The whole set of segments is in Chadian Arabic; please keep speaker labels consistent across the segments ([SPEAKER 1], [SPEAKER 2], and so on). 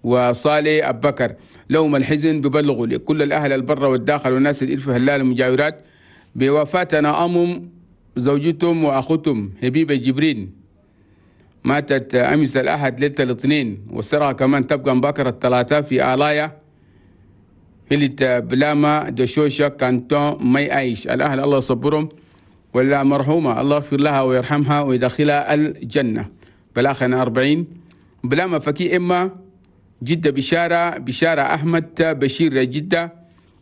[SPEAKER 1] وصالح أبكر. لهم الحزن ببلغوا لكل الأهل البر والداخل والناس اللي في هلال المجاورات بوفاتنا أمم زوجتهم وأخوتهم حبيبة جبرين، ماتت أمس الأحد ليلة الاثنين، والسرعة كمان تبقى مبكرة الثلاثاء في آلايا هلت بلاما دشوشة كانتون مي عايش. الأهل الله يصبرهم، ولا مرحومة الله يغفر لها ويرحمها ويدخلها الجنة. بلاخنا 40 بلاما فكي إما جدة بشارة، بشارة أحمد بشير جدة،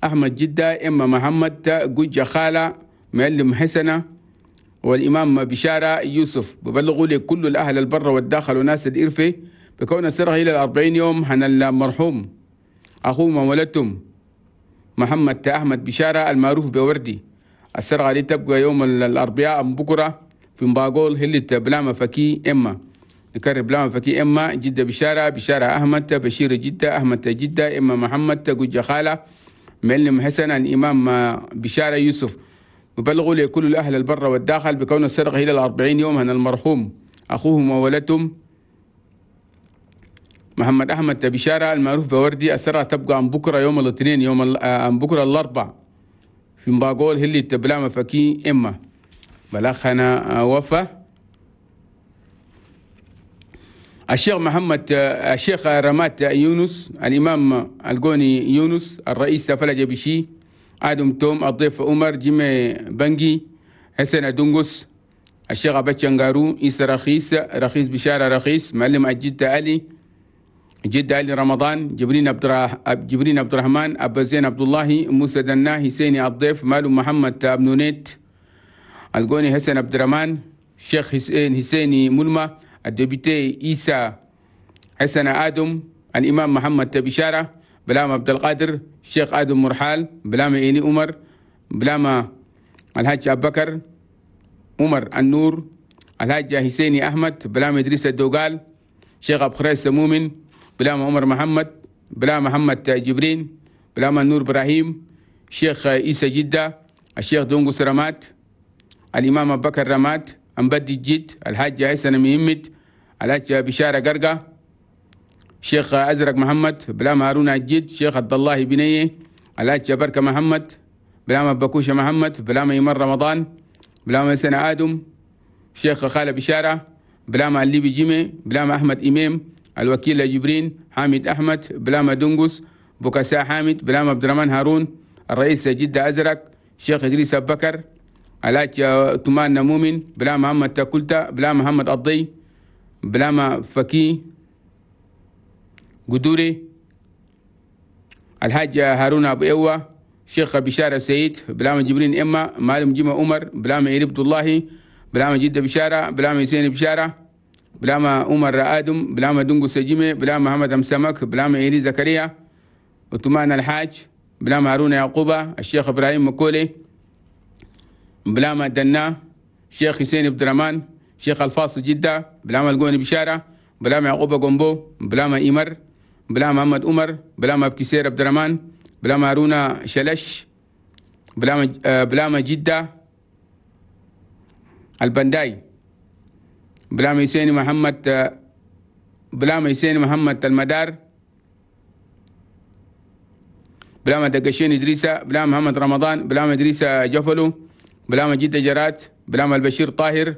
[SPEAKER 1] أحمد جدة، إما محمد جوجة خالة معلم حسنة، والإمام بشارة يوسف. ببلغوا لكل الأهل البر والداخل وناس الإرفة بكون سرها إلى 40 يوم هن المرحوم أخوه مولدتم محمد أحمد بشارة المعروف بوردي. السرعة دي تبقى يوم الأربعاء بكرة في مباقول هلة بلاما فكي إما. نكرر بلاما فكي إما جدة بشارة، بشارة أحمد بشير جدة، أحمد جدة، إما محمد جوجة خالة معلم حسن الإمام بشارة يوسف. ببلغوا لكل الأهل البر والداخل بكون السرقة إلى 40 يوم هن المرحوم أخوهم وولدتهم محمد أحمد بشارة المعروف بوردي. السرقة تبقى عن بكرة يوم الاثنين، يوم عن بكرة الأربع في مباقول هلي تبلاما فكي إما. بلغنا وفا الشيخ محمد الشيخ رمات يونس، الإمام القوني يونس، الرئيس فلج بشي، آدم توم، الضيف عمر جيمي بنجي، حسن دونغوس، الشيخ أبتشنغارو، إيسا رخيص، رخيص بشارة رخيص، معلم الجد علي، جد علي رمضان، جبرين عبد الرحمن، أبا زين عبد الله، موسى دنا، حسيني الضيف، مالو محمد أبنونيت، القوني حسن عبد الرحمن، الشيخ حسين حسيني ملمة، الدبيتي إيسا حسن آدم، الإمام محمد بشارة، بلام عبد القادر، الشيخ آدم مرحال، بلام إيني عمر، بلام الحاج أبو بكر عمر النور، الحاج حسيني أحمد، بلام إدريس الدوغال، شيخ أبو خريس مؤمن، بلام عمر محمد، بلام محمد جبرين، بلام النور إبراهيم، شيخ إيسى جدة، الشيخ دونغو رمات، الإمام أبو بكر رمات، أمبدي الجد، الحاج حسن مهمد، الحاج بشارة قرقة، شيخ أزرق محمد، بلام هارون الجد، شيخ عبد الله بنية، الحاج بركة محمد، بلام بكوشة محمد، بلام يمر رمضان، بلام سنة آدم، شيخ خالد بشارة، بلام الليبي جيمي، بلام أحمد إمام، الوكيل جبرين، حامد أحمد، بلام دونغوس، بوكاسا حامد، بلام عبد الرحمن هارون، الرئيس جدة أزرق، شيخ إدريس أبو بكر، الحاج تمان مؤمن، بلام محمد تاكلتا، بلام محمد الضي، بلام فكي قدوري، الحاج هارون أبو إيوة، شيخ بشارة سيد، بلام جبرين إما، معلم جيمة عمر، بلام إيري عبد الله، بلام جدة بشارة، بلام حسين بشارة، بلام عمر آدم، بلام دونغو سجيمة، بلام محمد أمسمك، بلام إيري زكريا، وتمان الحاج، بلام هارون يعقوبة، الشيخ إبراهيم مكولي، بلام دنا، شيخ حسين عبد الرحمن، شيخ الفاصل جدة، بلام القوني بشارة، بلام يعقوب قنبو، بلام إيمر، بلام محمد عمر، بلام أبكسير عبد الرحمن، بلام هارون شلش، بلام جدة البنداي، بلام حسين محمد، بلام حسين محمد المدار، بلام دقشين إدريسة، بلام محمد رمضان، بلام إدريسة جفلو، بلام جدة جرات، بلام البشير طاهر،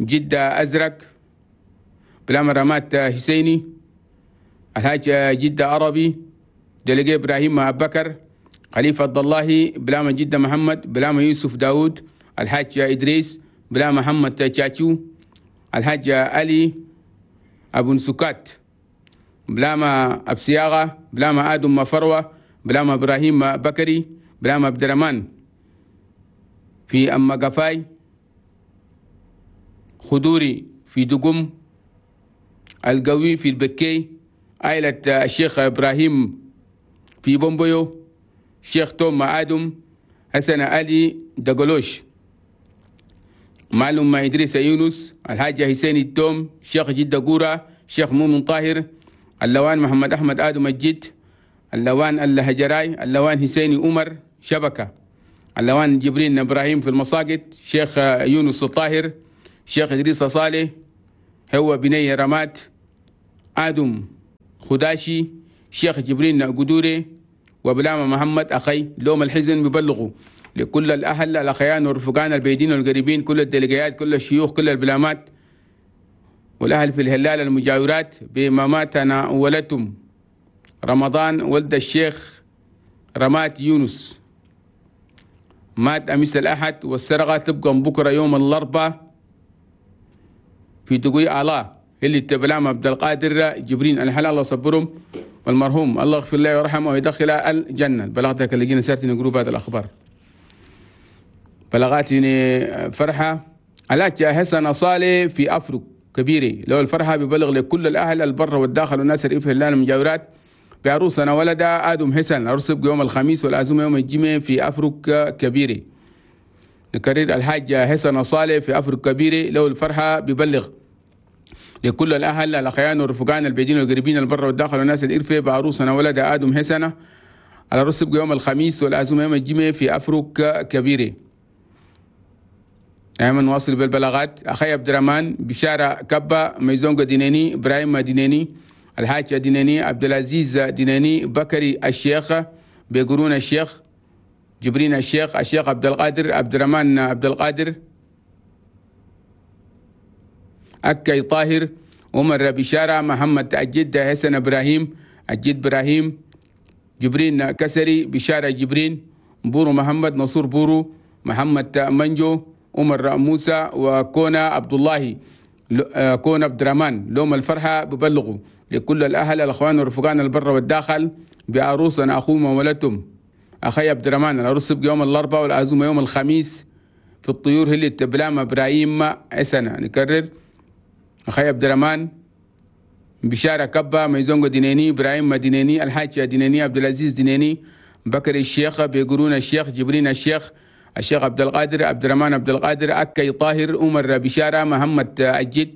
[SPEAKER 1] جدة أزرق، بلام رمات حسيني، الحاج جدة عربي، دلقي إبراهيم أبو بكر، خليفة عبد الله، بلام جدة محمد، بلام يوسف داود، الحاج إدريس، بلام محمد تشاتشو، الحاج علي أبو نسكات، بلام أبسياغة، بلام آدم مفروة، بلام إبراهيم بكري، بلام عبد الرحمن في أما قفاي، خدوري في دقم، القوي في البكي، عائلة الشيخ إبراهيم في بومبيو، شيخ توم آدم، حسن علي دقلوش، معلوم إدريس يونس، الحاج حسين التوم، شيخ جدة قورة، شيخ مؤمن طاهر، اللوان محمد أحمد آدم الجد، اللوان الهجراي، اللوان حسيني عمر شبكة، اللوان جبرين إبراهيم في المساقط، شيخ يونس الطاهر، شيخ إدريس صالح، هو بني رمات، آدم خداشي، شيخ جبرين قدوري، وبلامة محمد أخي. لوم الحزن ببلغوا لكل الأهل الأخيان والرفقان البيدين والقريبين، كل الدلقيات، كل الشيوخ، كل البلامات والأهل في الهلال المجاورات بما ماتنا ولدتم رمضان ولد الشيخ رمات يونس، مات أمس الأحد، والسرقة تبقى بكرة يوم الأربعاء في دقي الله اللي تبلام عبد القادر جبرين. الحلال الله صبرهم، والمرحوم الله يغفر له ويرحمه ويدخله الجنة. بلغتك اللي جينا سيرتنا جروب هذا الأخبار. بلغاتني فرحة علاج حسن صالح في أفرق كبيرة، لو الفرحة ببلغ لكل الأهل البر والداخل والناس في الهلال المجاورات بعروسنا ولدا آدم حسن، العرس يوم الخميس والعزومة يوم الجمعة في أفرق كبيرة. نكرر، الحاج حسن صالح في أفرق كبيرة، لو الفرحة ببلغ لكل الأهل الأخيان والرفقان البعيدين والقريبين البر والداخل والناس الإرفة بعروسنا ولد آدم حسن، العرس يوم الخميس والعزومة يوم الجمعة في أفرق كبيرة. دائما نواصل بالبلاغات. أخي عبد الرحمن بشارة كبا، ميزونغ ديناني، إبراهيم ديناني، الحاج ديناني، عبد العزيز ديناني، بكري الشيخ، بيقرون الشيخ، جبرين الشيخ، الشيخ عبد القادر، عبد الرحمن عبد القادر، أكي طاهر، عمر بشارة، محمد الجد، حسن إبراهيم، الجد إبراهيم، جبرين كسري، بشارة جبرين، بورو محمد، نصور بورو، محمد منجو، عمر موسى، وكونا عبد الله، كونا عبد الرحمن. لوم الفرحة ببلغوا لكل الأهل الأخوان والرفقان البر والداخل بعروسنا أخوهم وولدتم أخي عبد الرحمن. العروس يبقى يوم الأربعاء والعزومة يوم الخميس في الطيور هي تبلام إبراهيم حسنة. نكرر، أخي عبد الرحمن بشارة كبا، ميزونغو ديناني، إبراهيم ديناني، الحاج ديناني، عبد العزيز ديناني، بكر الشيخ، بيقرون الشيخ، جبرين الشيخ، الشيخ عبد القادر، عبد الرحمن عبد القادر، أكي طاهر، عمر بشارة، محمد الجد،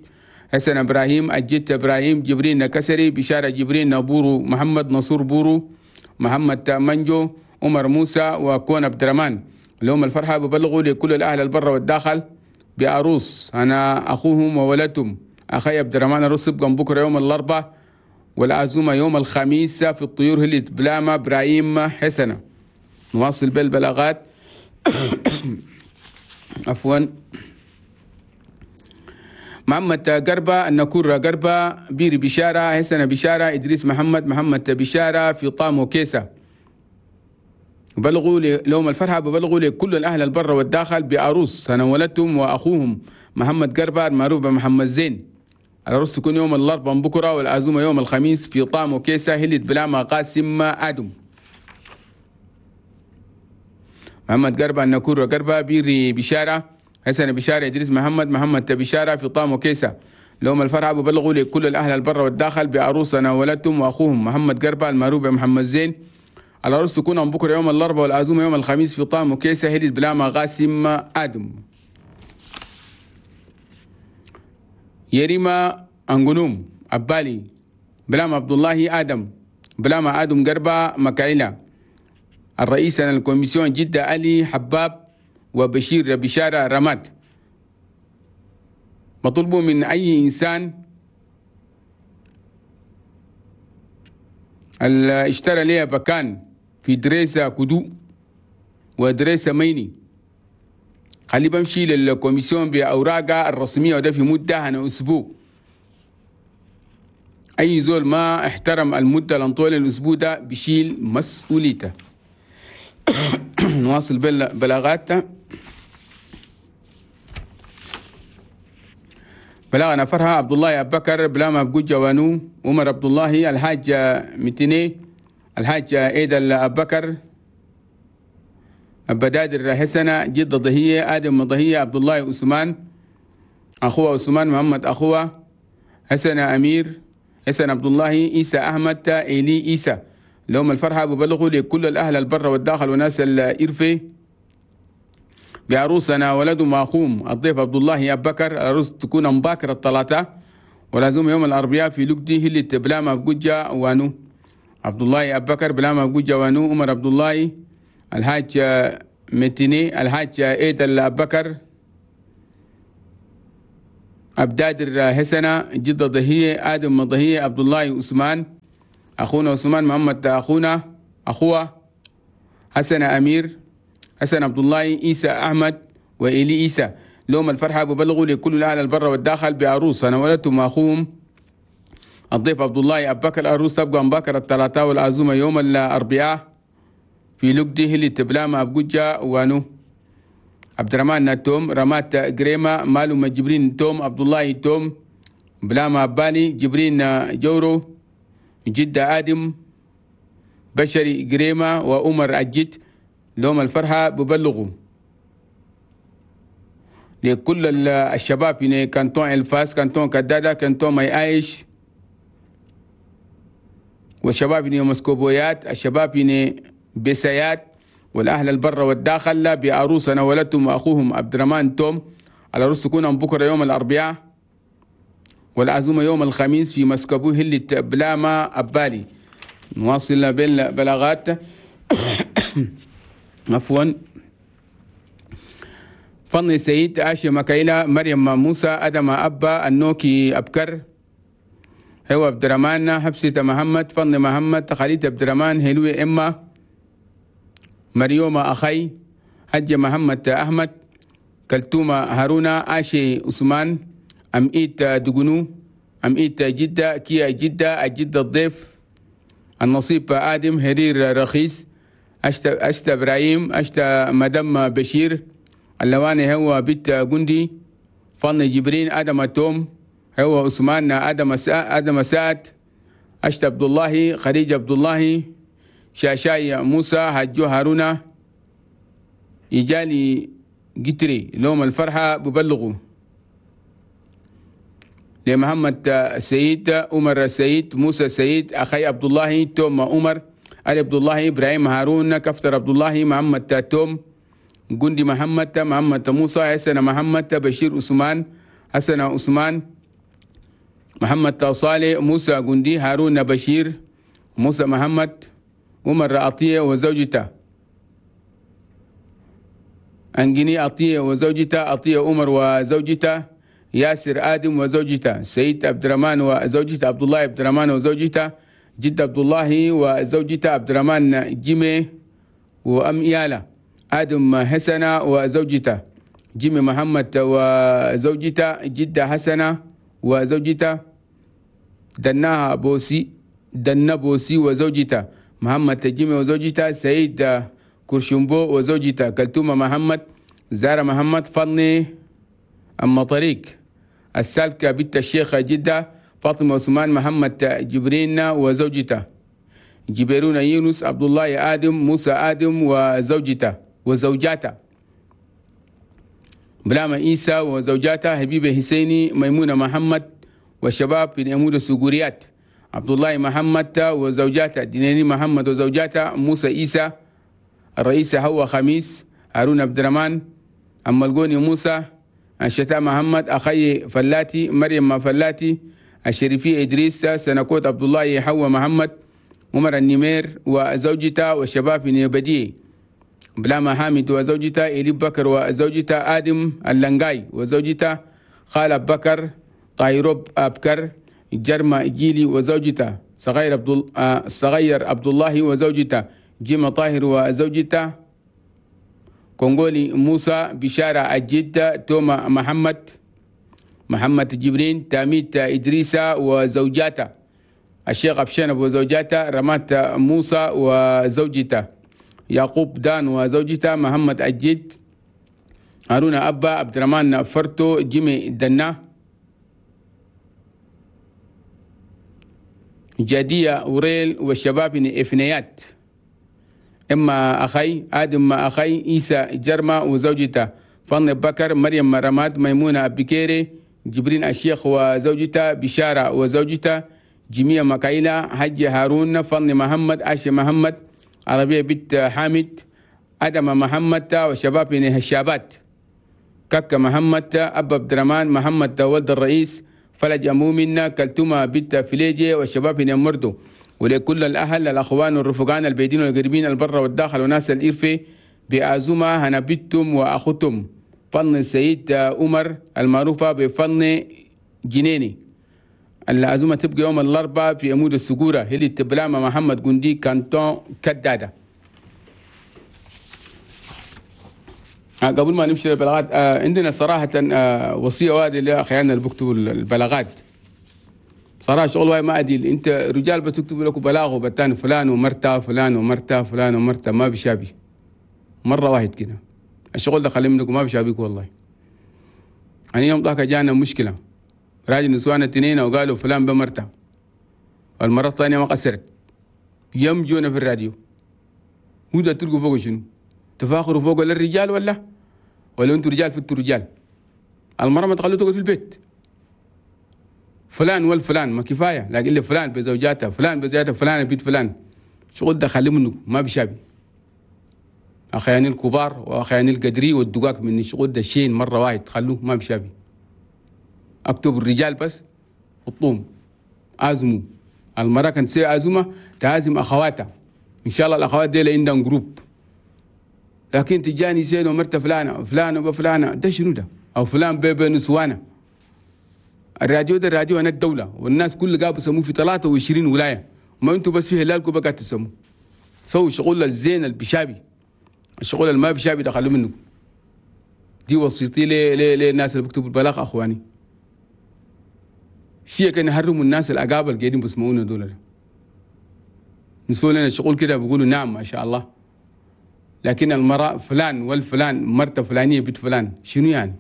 [SPEAKER 1] حسن إبراهيم، الجد إبراهيم، جبرين كسري، بشارة جبرين، بورو محمد، نصور بورو، محمد منجو، عمر موسى، وكون عبد الرحمن. اليوم الفرحة ببلغوا لكل الأهل البر والداخل بعروس أنا أخوهم وولدتهم أخي عبد الرحمن. العروس يبقى بكرة يوم الأربعاء والعزومة يوم الخميس في الطيور هلت بلاما إبراهيم حسنة. نواصل بالبلاغات. عفوا. محمد قربة، النكور قربة، بيري بشارة، حسن بشارة، إدريس محمد، محمد بشارة في طامو كيسة. بلغوا لهم الفرحة ببلغوا لكل الأهل البر والداخل بعروس أنا ولدتهم وأخوهم محمد قربة المعروف بمحمد زين. العروس تكون يوم الأربعاء بكرة والعزومة يوم الخميس في طامو كيسة هلت بلاما قاسم آدم. محمد قربة، النكور قربة، بيري بشارة، حسن بشارة، إدريس محمد، محمد بشارة في طامو كيسة. لهم الفرحة ببلغوا لكل الأهل البر والداخل بعروس أنا ولدتهم وأخوهم محمد قربة المعروف بمحمد زين. العروس تكون بكرة يوم الأربعاء والعزومة يوم الخميس في طامو كيسة هلت بلاما قاسم آدم. يريما أنغنوم أبالي بلاما عبد الله آدم، بلاما آدم قربة مكايلة. الرئيس ال commission جدة علي حباب وبشير بشارة رماد. مطلوب من أي إنسان اللي اشترى ليه بكان في دريسة كدو ودريسة ميني خلي بمشي لل commission بأوراقها الرسمية، وده في مدة أنا أسبوع. أي زول ما احترم المدة لنطول الأسبوع ده بشيل مسؤوليته. نواصل بلاغات. بلاغنا فرها عبد الله أبو بكر، بلاما بجوج جوانو، عمر عبد الله، الحاج متيني، الحاج ايد أبو بكر، بدادر حسنة، جد ضهية، آدم ضهية، عبد الله عثمان، أخوه عثمان محمد، أخوه حسن أمير، حسن عبد الله، عيسى أحمد، إيلي عيسى. لهم الفرحة ببلغوا لكل الأهل البر والداخل وناس الإرفي بعروسنا ولد ماخوم الضيف عبد الله أبو بكر. العروس تكون مباكر الثلاثة ولازم يوم الأربعاء في لقدي هي بلاما بجوجة وانو. عبد الله أبو بكر بلاما بجوجة وانو، عمر عبد الله، الحاج متيني، الحاج ايد أبو بكر، أبدادر حسنة، جدة ضهية، آدم ضهية، عبد الله عثمان، أخونا عثمان محمد أخونا أخوة حسن أمير حسن عبد الله عيسى أحمد وإلي عيسى. لهم الفرحة ببلغوا لكل الأهل البر والداخل بعروس أنا ولدتهم أخوهم الضيف عبد الله أبو بكر. العروس تبقى أم بكر الثلاثاء والعزومة يوم الأربعاء في لقده اللي تبلاما أبجوجة وانو عبد الرحمن توم رمات جريمة مالو جبرين توم عبد الله توم بلاما أبالي جبرين جورو جدة آدم بشري جريمة وعمر أجد. لهم الفرحة ببلغوا لكل الشباب يعني كانتون الفاس كانتون كدادة كانتون ماي عايش والشباب يعني مسكوبويات الشباب يعني بسيات والأهل البر والداخل بعروسنا ولدتهم وأخوهم عبد الرحمن توم. العروس تكون بكرة يوم الأربعاء والعزومة يوم الخميس في مسكبوه اللي بلاما أبالي. نواصل بالبلاغات عفوا. فضل سيد عاشي مكايلة مريم موسى أدم أبا النوكي أبكر هو عبد الرحمن حبسة محمد فضل محمد خالد عبد الرحمن هلوي إما مريومة أخي حج محمد أحمد كلتومة هارونا عاشي عثمان أمئيت دقنو أمئيت جدة كيا جدة الجدة الضيف النصيب آدم هرير رخيص أشتا إبراهيم أشتا مدام بشير اللواني هو بيت جندي فن جبرين آدم توم هو عثمان آدم سعد أشتا عبد الله خديجة عبد الله شاشاي موسى هجو هارونا إجالي جتري. لهم الفرحة ببلغوا لمحمد سيد عمر سيد موسى سيد أخي عبد الله توم عمر علي عبد الله إبراهيم هارون كفتر عبد الله محمد توم جندي محمد محمد موسى حسن محمد بشير عثمان حسن عثمان محمد صالح موسى جندي هارون بشير موسى محمد عمر عطية وزوجته أنجني عطية وزوجته عطية عمر وزوجته ياسر آدم وزوجته سيد عبد الرحمن وزوجته عبد الله عبد الرحمن وزوجته جد عبد الله وزوجته عبد الرحمن جيمي وأم إيالة آدم حسنة وزوجته جيمي محمد وزوجته جدة حسنة وزوجته دناها بوسي دنا بوسي وزوجته محمد جيمي وزوجته سيد كرشمبو وزوجته كلتومة محمد زارة محمد فضني أما طريق السالكة بنت الشيخ جدة فاطمة عثمان محمد جبرين وزوجته جبرون يونس عبد الله آدم موسى آدم وزوجته وزوجاته بلاما عيسى وزوجاته حبيبة حسيني ميمونة محمد والشباب في أمور السجوريات عبد الله محمد وزوجاته ديناني محمد وزوجاته موسى عيسى الرئيس هو خميس هارون عبد الرحمن أما الجوني موسى الشتاء محمد أخي فلاتي مريم فلاتي الشريفي إدريس سنكوت عبد الله حوا محمد عمر النمير وزوجته والشباب في نيبدي بلاما حامد وزوجته إلي بكر وزوجته آدم اللنغاي وزوجته خالد بكر طايروب أبكر جرما جيلي وزوجته صغير عبد الله وزوجته جيما طاهر وزوجته كونغولي موسى بشارة الجدة توما محمد محمد جبرين تاميت إدريسة وزوجاته الشيخ أبشنب وزوجاته رمات موسى وزوجته يعقوب دان وزوجته محمد الجد هارون أبا عبد الرحمن فرتو جيمي دنا جدية وريل والشباب إفنيات إما أخي آدم أخي إيسى جرما وزوجته فن بكر مريم رماد ميمونة بكيري جبرين الشيخ وزوجته بشارة وزوجته جميع مكايلة حج هارون فن محمد عاشي محمد عربية بنت حامد آدم محمد وشباب من الشابات كك محمد أبا عبد الرحمن محمد ولد الرئيس فلج أمومنا كلتومة بنت فليجي والشباب من مردو. ولكل الأهل الأخوان والرفقان البيدين والقريبين البر والداخل وناس الإرفي بأزومة هنبتم وأخوتم فن السيد عمر المعروفة بفن جنيني. العزومة تبقى يوم الأربعاء في عمود السجورة هلي تبلامة محمد جندي كانتون كدادة. قبل ما نمشي للبلاغات، عندنا صراحة وصية وادي لأخياننا اللي بيكتبوا البلاغات. صراحة شغل واي ما أديل، أنت رجال بتكتب لكم بلاغ وبتان فلان ومرتا فلان ومرتا فلان ومرتا، ما بشابي مرة واحد كده. الشغل ده خلي منكم، ما بشابيك والله. يعني يوم ضحك جانا مشكلة، راجل نسوان التنين وقالوا فلان بمرتا، والمرة الثانية ما قصرت يوم جونا في الراديو. وده تلقوا فوق شنو؟ تفاخروا فوق للرجال ولا انتوا رجال في انتوا رجال؟ المرة ما تخلوا تقعد في البيت. فلان والفلان ما كفاية، لكن اللي فلان بزوجاته فلان بزوجاته فلان بيت فلان، شغل ده خلي منه ما بشابي. أخياني الكبار وأخياني القدري والدقاق من الشغل ده شين مرة واحد، خلوه ما بشابي. اكتب الرجال بس الطوم عزموا. المرة كانت تسوي عزومة تعزم أخواتها، إن شاء الله الأخوات دي عندهم group. لكن تجاني زين ومرت فلانة فلانة وفلانة، ده شنو ده؟ أو فلان بيبي نسوانة. الراديو ده الراديو أنا الدولة، والناس كل قابوا سموه في 23 ولاية، ما أنتوا بس في هلالكم بقى تسموه. سووا شغل الزين البشابي، الشغل اللي ما بشابي ده خلوه منكم. دي وصيتي للناس اللي بيكتبوا البلاغ أخواني. شيء كان يهرموا الناس الأقابل اللي قاعدين بيسمعونا دول. نسوا لنا الشغل كده بيقولوا نعم ما شاء الله. لكن المرأة فلان والفلان مرته فلانية بنت فلان، شنو يعني؟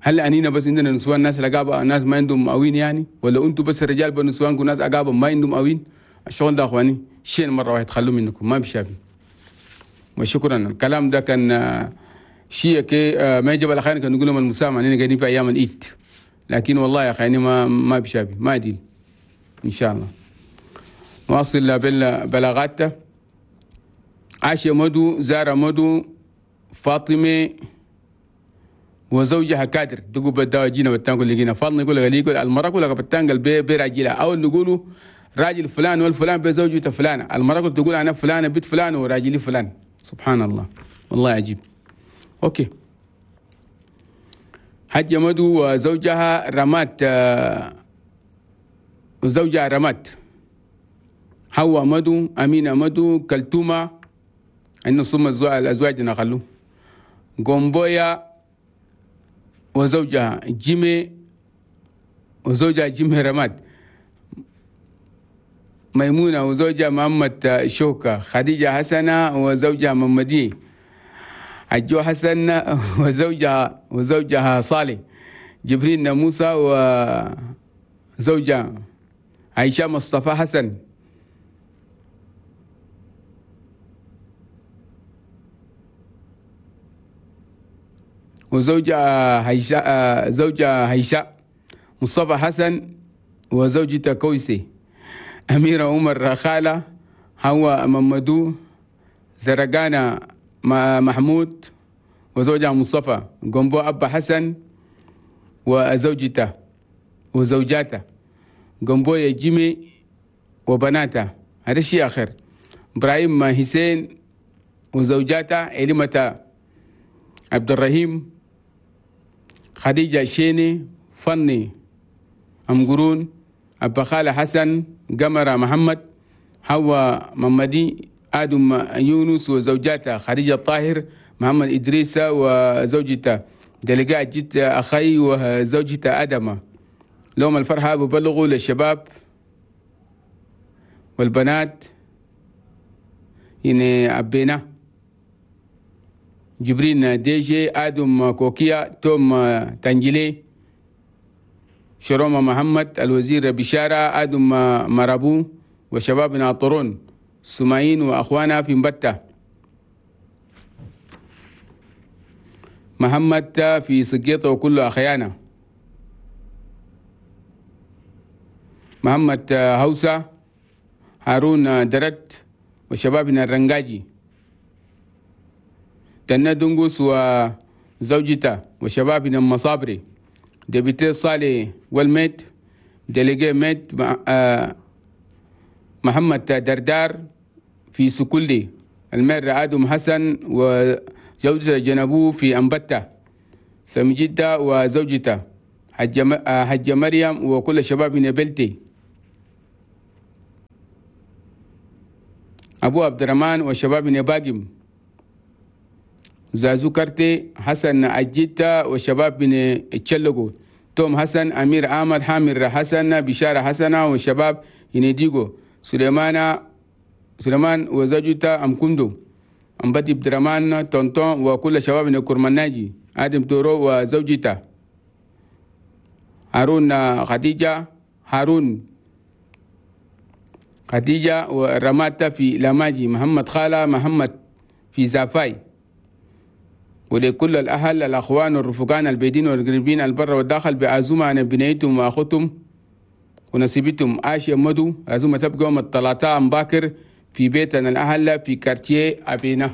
[SPEAKER 1] هل أنينا بس عندنا نسوان ناس الأقابة ناس ما عندهم مقاوين يعني؟ ولا أنتوا بس الرجال بنسوانكم ناس أقابة ما عندهم مقاوين؟ الشغل ده أخواني شيء مرة واحد خلوه منكم ما بشافي. وشكرا. الكلام ده كان شيء كي ما يجب على خير كان نقول لهم المسامحة أننا قاعدين في أيام العيد، لكن والله يا أخي ما بشابي ما أديل. إن شاء الله نواصل بالبلاغات. عاشة مدو، زارة مدو، فاطمة وزوجها كادر دقوا بدأوا جينا بتانقل لقينا فاطمة يقول لك يقول المرأة كلها بتانقل براجلها، أو نقولوا راجل فلان والفلان بزوجته فلانة، المرأة تقول أنا فلانة بنت فلان وراجلي فلان. سبحان الله والله عجيب. أوكي. حجة مدو وزوجها رمات، وزوجها رمات، حواء مدو، أمينة مدو، كلتومة إنه صم الأزواج نخلو، غومبويا وزوجها جيمي وزوجها جيمي رماد، ميمونة وزوجها محمد شوكة، خديجة حسنة وزوجها محمدي، عجو حسن وزوجها صالح، جبريل موسى وزوجها عائشة مصطفى حسن، وزوجها هيشاء، زوجها هيشاء مصطفى حسن وزوجته كويسي، أميرة عمر خالة، هو ممدو، زرقانة محمود وزوجها مصطفى، جنبو أبا حسن وزوجته وزوجاته، جنبو جيمي وبناته. هذا الشيء آخر. إبراهيم حسين وزوجاته، إلمة عبد الرحيم، خديجة شيني، فني أمقرون، أبا خالة حسن، قمرة محمد، حواء محمدي، آدم يونس وزوجاته، خديجة الطاهر، محمد إدريس وزوجته، دلقاء جت أخي وزوجته أدمة. لهم الفرحة ببلغوا للشباب والبنات يعني أبينا جبرين ديجي، آدم كوكيا، توم تنجلي، شروما محمد، الوزير بشارة، آدم مرابو، وشبابنا طرون سمعين وأخوانا في مبتة، محمد في سقيطة وكل أخيانا، محمد هوسة، هارون درت، وشبابنا الرنجاجي، تنا دنقوس وزوجته، وشبابنا المصابري، député صالح والميت، délégué ميت، محمد دردار في سكولي، ال maire آدم حسن وزوجته جنبو في أنبتة، سمجدة وزوجته، حجة مريم وكل الشباب من بلتي، أبو عبد الرحمن والشباب من باقم، زازو كرتي حسن أجيتا والشباب من تشلقو، توم حسن أمير عامر حامر حسن بشارة حسنة والشباب ينيديغو، سليمان وزوجته أم كندو أم بدي عبد الرحمن تونتون وكل شباب من كرمناجي، آدم تورو وزوجته هارون خديجة، هارون خديجة ورماتا في لاماجي، محمد خالة محمد في زافاي. ولكل الأهل الأخوان والرفقان البيدين والقريبين البر والداخل بعزومة عن بنيتهم وأخوتهم ونسيبتهم عاشي مدو. عزومة تبقى يوم الثلاثاء باكر في بيتنا الأهل في كارتيه أبينا.